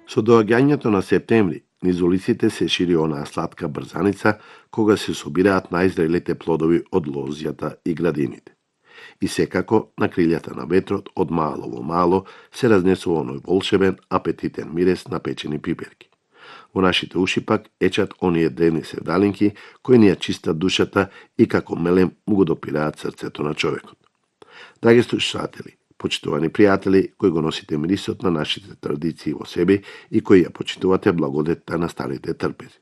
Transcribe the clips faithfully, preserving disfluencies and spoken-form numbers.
Со доаѓањето на септември, низ улиците се шири онаа сладка брзаница, кога се собираат најзрелите плодови од лозјата и градините. И секако, на крилјата на ветрот, од мало во мало, се разнесува оној волшебен, апетитен мирес на печени пиперки. Во нашите уши пак ечат оние древни севдалинки, кои ни ја чистат душата и како мелем му го допираат срцето на човекот. Драги слушатели, почитувани пријатели, кои го носите мирисот на нашите традиции во себе и кои ја почитувате благодетта на старите трпези.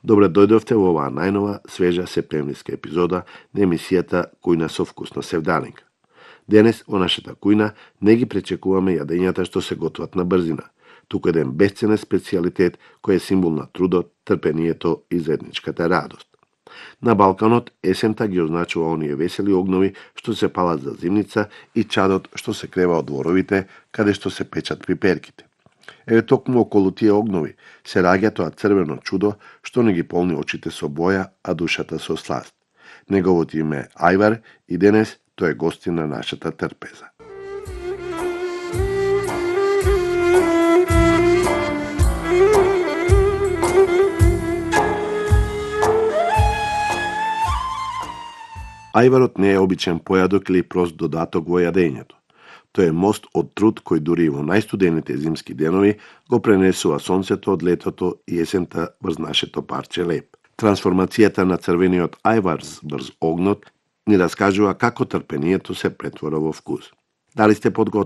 Добре дојдовте во оваа најнова, свежа септемвриска епизода на емисијата Кујна со вкус на севдалинка. Денес во нашата кујна не ги пречекуваме јадењата што се готват на брзина, туку еден бесценен специјалитет кој е символ на трудот, трпението и заедничката радост. На Балканот есента ги означува оние весели огнови што се палат за зимница и чадот што се крева од дворовите каде што се печат пиперките. Еве токму околу тие огнови се раѓа тоа црвено чудо што не ги полни очите со боја, а душата со сласт. Неговото име е Ајвар и денес тој е гостин на нашата трпеза. Ајварот не е обичен појадок или прост додаток во јадењето. Тој е мост од труд кој дури и во најстудените зимски денови го пренесува сонцето од летото и есента врз нашето парче леб. Трансформацијата на црвениот ајвар врз огнот ни раскажува како трпението се претвора во вкус. Дали сте подготвени